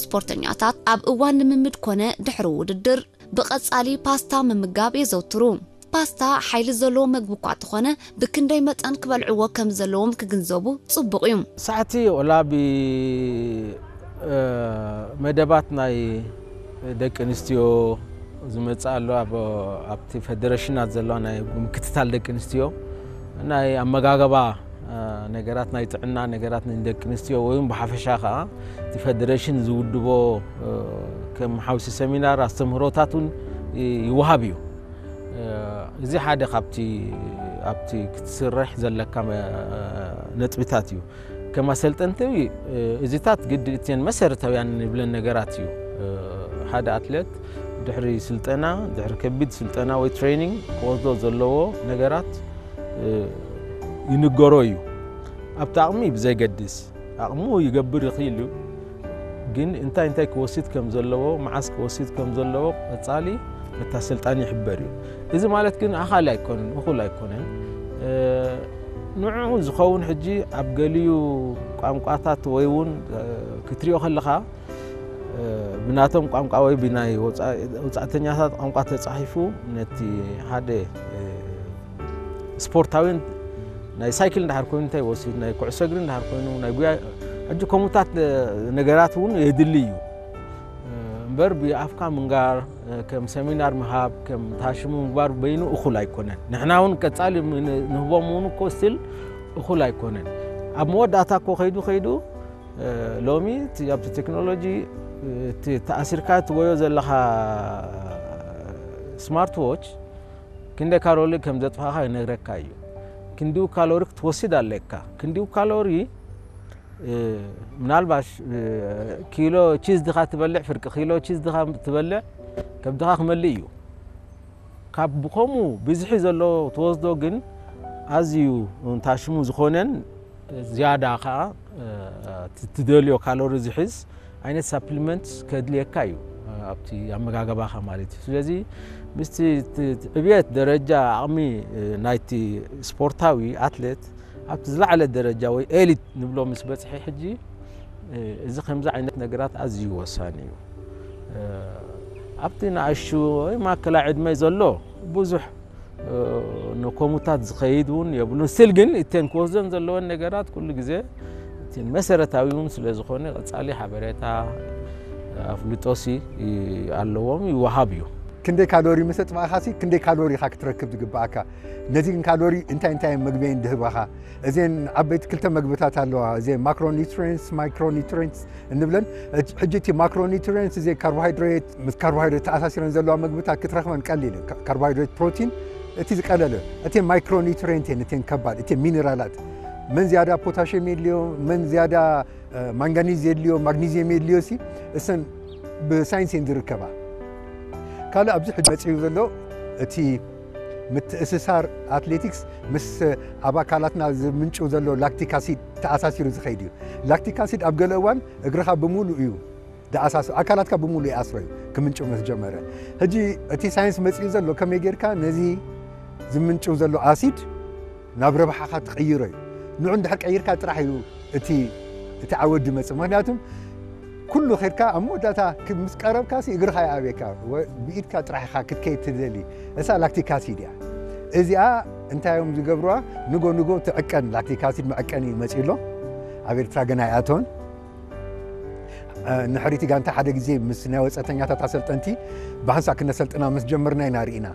ስፖርተኛታት ኣብ እዋን ልምምድ ኮነ ድሕሪ ውድድር ብቐጻሊ ፓስታ ምምጋብ የዘውትሩ። ፓስታ ሓይሊ ዘለዎ መግቢ እኳ እንተኾነ፣ ብክንደይ መጠን ክበልዕዎ ከም ዘለዎም ክግንዘቡ ጽቡቕ እዩ። ሳዕቲ ወላ ብ፣ እ፣ መደባት ናይ ደቂ ኣንስትዮ ዝመጽእ ኣሎ፣ ኣብ፣ ኣብቲ ፌደሬሽናት ዘለዋ ናይ ምክትታል ደቂ ኣንስትዮ፣ ናይ ኣመጋገባ፣ እ፣ ነገራት፣ ናይ ጥዕና ነገራት ንደቂ ኣንስትዮ ወይ እውን ብሓፈሻ ከኣ እቲ ፌደሬሽን ዝውድቦ፣ እ፣ ከም ሓውሲ ሰሚናር ኣስተምህሮታት እውን ይ-፣ ይወሃብ እዩ። እ፣ እዚ ሓደ ካብቲ ኣብቲ ክትስርሕ ዘለካ መ-፣ ነጥብታት እዩ። ከም ኣሰልጠንቲ፣ እ፣ እዚታት ግዲ እተን መሰረታውያን ንብለን ነገራት እዩ። እ፣ ሓደ ኣትሌት ድሕሪ ስልጠና፣ ድሕሪ ከቢድ ስልጠና ወይ ትሬኒንግ ክወስዶ ዘለዎ ነገራት፣ እ፣ ይንገሮ እዩ። ኣብቲ ዓቕሚ ብዘይገድስ፣ ዓቕሙ ይገብር ይኽእል እዩ። ግን እንታይ እንታይ ክወስድ ከም ዘለዎ፣ መዓስ ክወስድ ከም ዘለዎ ቀጻሊ በታ ኣሰልጣኒ ይሕበር እዩ። እዚ ማለት ግን ኣኻሊ ኣይኮነን፣ እኹል ኣይኮነን። እ፣ ንዕኡ ዝኸውን ሕጂ ኣብ ገሊኡ ቋንቋታት ወይ እውን፣ እ፣ ክትሪኦ ከለኻ፣ እ፣ ብናቶም ቋንቋ ወይ ብናይ ወጻ-፣ ወጻእተኛታት ቋንቋ ተጻሒፉ ነቲ ሓደ፣ እ፣ ስፖርታዊን ናይ ሳይክል እንድሕር ኮይኑ እንታይ ይወስድ፣ ናይ ኩዕሶ እግሪ እንድሕር ኮይኑ፣ ናይ ጉያ፣ ሕጂ ከምኡታት ነገራት እውን የድሊ እዩ። እምበር ብኣፍካ ምንጋር፣ ከም ሰሚናር ምሃብ፣ ከም ታሽሙ ምግባር በይኑ እኹል ኣይኮነን። ንሕና እውን ቀጻሊ ን-፣ ንህቦም እውን እኮ ስቲል እኹል ኣይኮነን። ኣብ መወዳእታ እኮ ከይዱ ከይዱ፣ ሎሚ እቲ ኣብቲ ቴክኖሎጂ፣ እቲ ተኣሲርካ ትጎዮ ዘለኻ ስማርት ዎች ክንደይ ካሎሪ ከም ዘጥፋእካ ይነግረካ እዩ። ክንዲኡ ካሎሪ ክትወስድ ኣለካ። ክንዲኡ ካሎሪ፣ እ፣ ምናልባሽ፣ እ፣ ኪሎ ቺዝ ድኻ ትበልዕ፣ ፍርቂ ኪሎ ቺዝ ድኻ ትበልዕ፣ ከብድኻ ክመልእ እዩ። ካብ ብኸምኡ ብዝሒ ዘሎ ትወስዶ ግን ኣዝዩ እንታሽሙ ዝኾነን ዝያዳ ኸዓ፣ እ፣ ት-፣ ትደልዮ ካሎሪ ዝሕዝ ዓይነት ሳፕሊመንት ከድልየካ እዩ፣ እ፣ ኣብቲ ኣመጋገባኻ ማለት እዩ። ስለዚ ምስቲ ት-፣ ት-፣ ዕብየት ደረጃ ዓቕሚ፣ እ፣ ናይቲ ስፖርታዊ ኣትሌት ኣብቲ ዝለዓለ ደረጃ ወይ ኤሊት ንብሎ ምስ በጽሐ ሕጂ፣ እ፣ እዚ ከምዚ ዓይነት ነገራት ኣዝዩ ወሳኒ እዩ። እ፣ ኣብቲ ንኣሽቱ ወይ ማእከላይ ዕድመ ዘሎ ብዙሕ፣ እ፣ ንከሙታት ዝኸይድ እውን የብሉን። ስቲል ግን እተን ክወስደን ዘለወን ነገራት ኩሉ ግዜ እቲ መሰረታዊ እውን ስለ ዝኾነ ቀጻሊ ሓበሬታ፣ ኣፍልጦሲ ኣለዎም፣ ይወሃብ እዩ። ክንደይ ካሎሪ ምስ ኣጥፋእኻሲ፣ ክንደይ ካሎሪ ኢኻ ክትረክብ ዝግብኣካ? ነዚ ግን ካሎሪ እንታይ እንታይ መግቢ እየን ድህባኻ? እዘን ዓበይቲ ክልተ መግብታት ኣለዋ። እዘን ማክሮኒትሪየንትስ፣ ማይክሮኒትሪየንትስ እንብለን። ሕጂ እቲ ማክሮኒትሪየንትስ፣ እዘን ካርቦሃይድሬት፣ ምስ ካርቦሃይድሬት ተኣሳሲረን ዘለዋ መግብታት ክትረኽበን ቀሊል እዩ። ካ-፣ ካርቦሃይድሬት፣ ፕሮቲን፣ እቲ ዝቀለለ። እተን ማይክሮኒትሪየንት እየን፣ እተን ከባድ፣ እተን ሚነራላት። መን ዝያዳ ፖታሽየም የድልዮ፣ መን ዝያዳ እ፣ ማንጋኒዝ የድልዮ፣ ማግኒዝየም የድልዮ ሲ፣ እሰን ብሳይንስ እየን ዝርከባ። ካልእ ኣብዚ ሕጂ መጺኡ ዘሎ እቲ ምትእስሳር ኣትሌቲክስ ምስ ኣብ ኣካላትና ዝምንጭው ዘሎ ላክቲክ ኣሲድ ተኣሳሲሩ ዝኸይድ እዩ። ላክቲክ ኣሲድ ኣብ ገለ እዋን እግርኻ ብምሉእ እዩ ዝኣሳስሮ፣ ኣካላትካ ብምሉእ ይኣስሮ እዩ ክምንጭው ምስ ጀመረ። ሕጂ እቲ ሳይንስ መጺኡ ዘሎ ከመይ ጌርካ ነዚ ዝምንጭው ዘሎ ኣሲድ ናብ ረብሓኻ ትቕይሮ እዩ። ንዑ እንድሕር ቀይርካ ጥራሕ እዩ እቲ፣ እቲ ዓወት ዝመጽእ። ምኽንያቱም ኩሉ ኸድካ ኣብ መወዳእታ ክ-፣ ምስ ቀረብካሲ እግርኻ ይኣብየካ። ወ-፣ ብኢድካ ጥራሕ ኢኻ ክትከይድ ትደሊ። እሳ ላክቲክ ኣሲድ እያ። እዚኣ እንታይ እዮም ዝገብሩዋ? ንጎ ንጎ ትዕቀን፣ ላክቲክ ኣሲድ መዐቀኒ እዩ መጺኡ ኣሎ። ኣብ ኤርትራ ገና ኣይኣተወን። እ፣ ንሕሪቲ ጋንታ ሓደ ግዜ ምስ ናይ ወጻእተኛታት ኣሰልጠንቲ ብሓንሳእ ክነሰልጥና ምስ ጀመርና ኢና ርኢና።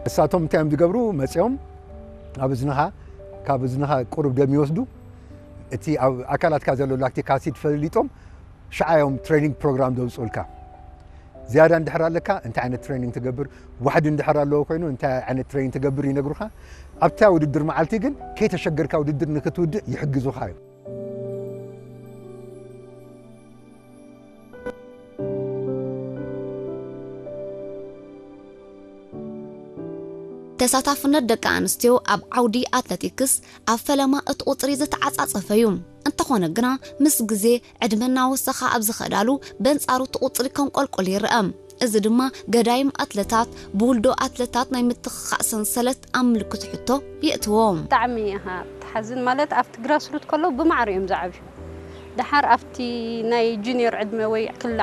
እሳቶም እንታይ እዮም ዝገብሩ? መጺኦም ኣብ እዝንኻ፣ ካብ እዝንኻ ቁሩብ ደም ይወስዱ። እቲ ኣብ ኣካላትካ ዘሎ ላክቲክ ኣሲድ ፈሊጦም ሽዓ እዮም ትሬኒንግ ፕሮግራም ዘውፅኡልካ። ዝያዳ እንድሕር ኣለካ እንታይ ዓይነት ትሬኒንግ ትገብር፣ ዋሕዲ እንድሕር ኣለዎ ኮይኑ እንታይ ዓይነት ትሬኒንግ ትገብር ይነግሩኻ። ኣብታ ውድድር መዓልቲ ግን ከይተሸገርካ ውድድር ንክትውድእ ይሕግዙኻ እዮም። ተሳታፍነት ደቂ ኣንስትዮ ኣብ ዓውዲ ኣትለቲክስ ኣብ ፈለማ እቲ ቁጽሪ ዝተዓጻጸፈ እዩ። እንተኾነ ግና፣ ምስ ግዜ ዕድመ እናወሰኸ ኣብ ዝኸዳሉ፣ በንጻሩ እቲ ቁጽሪ ከንቆልቁል ይርአ። እዚ ድማ ገዳይም ኣትለታት ብውልዶ ኣትለታት ናይ ምትኽኻእ ሰንሰለት ኣብ ምልክት ሕቶ የእትዎ። ብጣዕሚ ኢኻ ትሓዝን። ማለት ኣብቲ ግራስሩት ከለዉ ብማዕረ እዮም ዝዓብዩ። ደሓር ኣብቲ ናይ ጁኒየር ዕድመ ወይ ክልል